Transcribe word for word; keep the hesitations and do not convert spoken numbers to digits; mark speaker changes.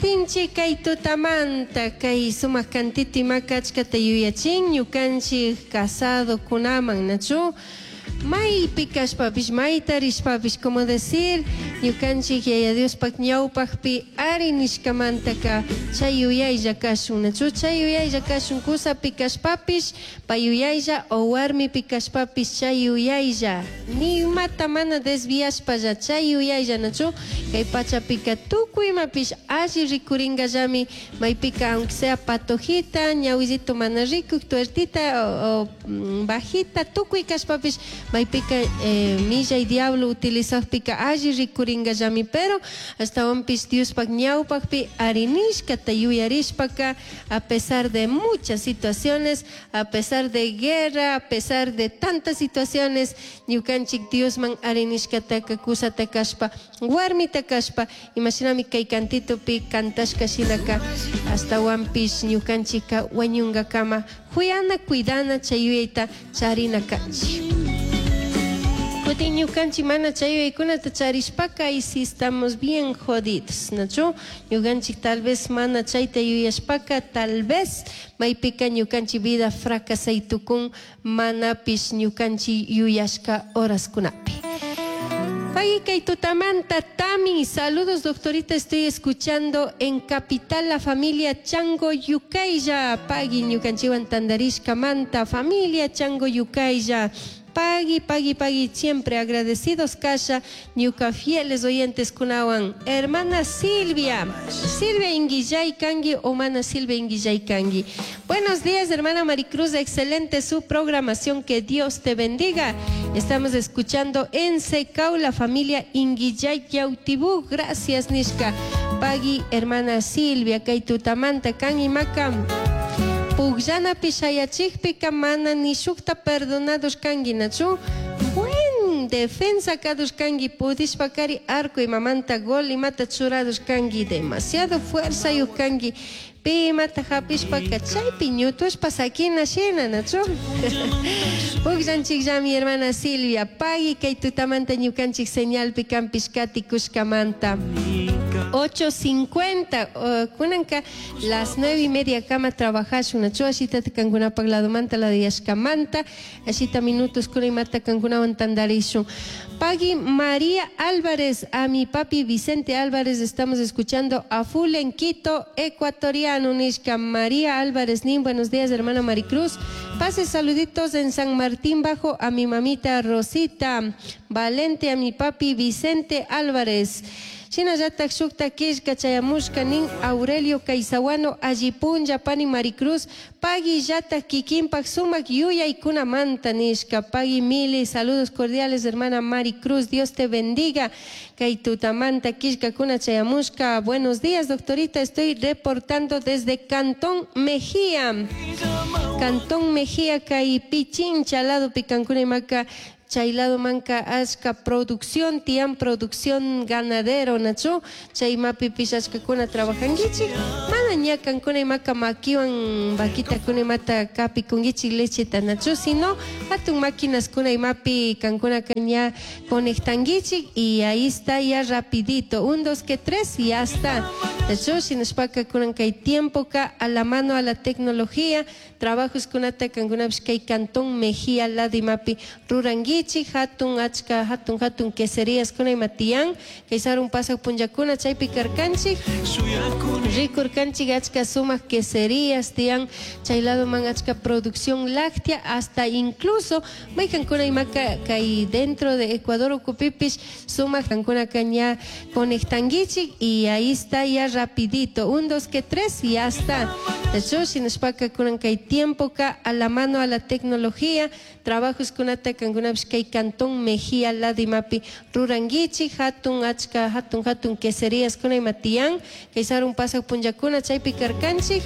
Speaker 1: Katinchik kay tutamanta kay sumaq kantito imaka achkata yuyachin ñukanchik casadokunaman, nachu? Maypi kashpapish, mayta rishpapish, como decir, ñukanchik Yaya Diospaq ñawpaqpi ari nishkamantaka chay yuyaylla kashun, nachu? Chay yuyaylla kashun kusapi kashpapish, pay yuyaylla o warmipi kashpapish chay yuyaylla. Ni imata mana desviashpalla chay yuyaylla, nachu? Kay pachapika tukuy imapish alli rikuringallami, maypika aunque sea patojita, ñawillito mana rikuk, tuertita o, o mm, bajita, tukuy kashpapish maypika eh, millay diablo utilizajpika alli rikuringallami, pero ashtawanpish Diospaq ñawpaqpi arinishkata yuyarishpaka a pesar de muchas situaciones, a pesar de guerra, a pesar de tantas situaciones, ñukanchik Diosman arinishkataka kusata kashpa, warmita kashpa, imashinami kay kantitupi kantashka shinaka ashtawanpish ñukanchikka wañunkakama huyana, cuidana chay yuyayta charina kanchik. Kutin ñukanchik mana chay yuyaykunata charishpaka y si estamos bien jodidos, ¿nachu? Ñukanchik tal vez mana chayta yuyashpaka tal vez maypika ñukanchik vida fracasay tukun manapish ñukanchik yuyashka horaskunapi. Pagui kay tutamanta Tami, saludos, doctorita, estoy escuchando en Capital la familia Chango Yucaya. Pagui ñukanchikwan tandarishka manta, familia Chango Yucaya. Pagui, pagui, pagui, siempre agradecidos kasha, ñuka fieles oyentes kunawan. Hermana Silvia, Silvia Inguillay Kangi, o mana Silvia Inguillay Kangi. Buenos días, hermana Maricruz, excelente su programación, que Dios te bendiga. Estamos escuchando en Secau la familia Inguillay Yautibú. Gracias, nishka. Pagui, hermana Silvia, kay tutamanta, kan imaka. Pugllanapi shayachikpika mana ni shukta perdonados kangi, nachu? Buen defensa kados kangi, pudishpakari arco imamanta gol imata churados kangi, demasiado fuerza yuk kangi. Pi imata hapishpaka chaypi ñutushpa sakina shina, nachu? Pugllanchikllami, hermana Silvia, pagui kay tutamanta ñukanchik señalpi kanpish katikushkamanta. ocho cincuenta, uh, kunanka las nueve y media kama trabajashun, nachu? Ashitata kankunapak ladomanta ladiyashkamanta ashita minutos kuna imata kankunawan tandarishun. Pagui María Álvarez, a mi papi Vicente Álvarez, estamos escuchando a full en Quito, ecuatoriano, nishka María Álvarez nin. Buenos días, hermana Maricruz, pase saluditos en San Martín Bajo a mi mamita Rosita Valente, a mi papi Vicente Álvarez. Shinallatak shukta killka chayamushka nin Aurelio Caizahuano, alli punlla pani Maricruz, pagui llatak kikinpak sumak yuyaykunamanta nishka. Pagui mili, saludos cordiales, hermana Maricruz, Dios te bendiga. Kay tutamanta killkakuna chayamushka. Buenos días, doctorita, estoy reportando desde Cantón Mejía. Cantón Mejía kay Pichincha lado pikankuna imaka chay lado manka achka producción tiyan, producción ganadero, nachu? Chay mapipish achkakuna trabajankichik, mana ña kankuna imaka makiwan vaquitakuna imata kapikunkichik lecheta, nachu? Sino hatun máquinas kuna imapi kankunaka ña conectankichik y ahí está ya rapidito, un, dos, que tres y ya está, nachu? Shinashpaka kunan kay tiempo ka a la mano a la tecnología trabajos kunata kankunapish kay Cantón Mejía lado imapi rurankichik, hatun achka hatun hatun queserías kuna ima tiyan. Kay sarun pasak punllakuna chaypi karkanchik, rikurkanchik achka sumak queserías tiyan chay lado man, achka producción láctea, hasta incluso maykankuna imaka kay dentro de Ecuador ukupipish sumak kankunaka ña conectankichik y ahí está ya rapidito, un, dos, que tres y ya está. Nachu? Shinashpaka kunan kay tiempo ka a la mano a la tecnología trabajos kunata kankunapish kay Cantón Mejía lado imapi rurankichik, hatun achka hatun hatun queserías kuna ima tiyan. Kay sarun pasak punllakuna chaypi karkanchik.